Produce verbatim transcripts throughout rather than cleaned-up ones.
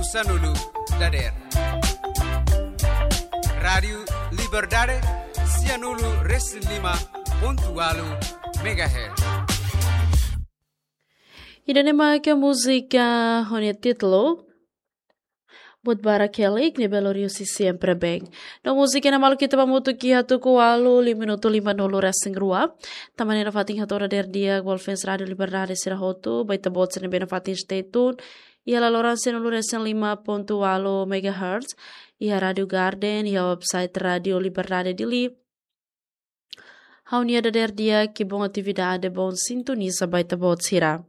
Sanulu dader. Rádiu Liberdade, sianulu resin lima pontu walu megahertz. Ida-ne'e mak múzika ho nia títulu Buat Barak Kelik, ne'ebé lori husi Siempre Bem. No múzika ne'e malu ita ba hamutuk iha tuku ualu, lima minutu lima nulu resin rua. Tanba ne'e nafatin hato'o dader di'ak ba fans Rádiu Liberdade sira hotu, ba ita-boot sira ne'ebé nafatin stay tune iha laloran sianulu resin lima pontu walu megahertz, iha Rádiu Garden, iha website Rádiu Liberdade Dili. Ha'u-nia dader di'ak, bom atividade, bom sintoniza ba ita-boot sira.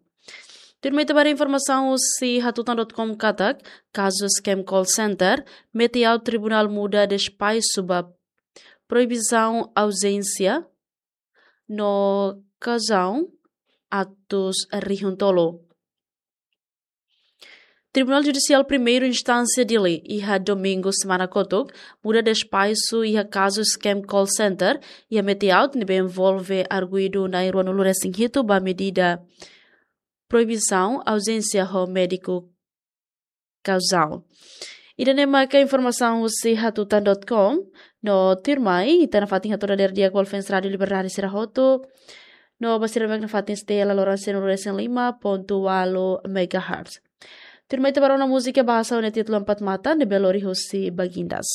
Tuirmai ita ba haree informasaun husi hatutan dot com katak, kazu scam call center, mete aut tribunál muda despaisu ba proibisaun auzénsia no kauzaun atus rihun tolu. Tribunál Judisiál Primeira Instánsia Dili, iha domingu semana kotuk, muda despaisu iha kazu scam call center, iha mete aut ne'ebé envolve arguidu na'in ruanulu resin hitu ba medida proibisaun auzénsia ho médiku kauzaun. Ida-ne'e maka informasaun husi hatutan dot com, no tuirmai, ita nafatin hato'o dader di'ak ba fans Rádiu Liberdade sira hotu, no ba sira mak nafatin stay iha laloran sianulu resin lima pontu walu megahertz. Tuirmai ita ba rona múzika bahasa ho nia títulu Empat Mata, ne'ebé lori husi Bagindas.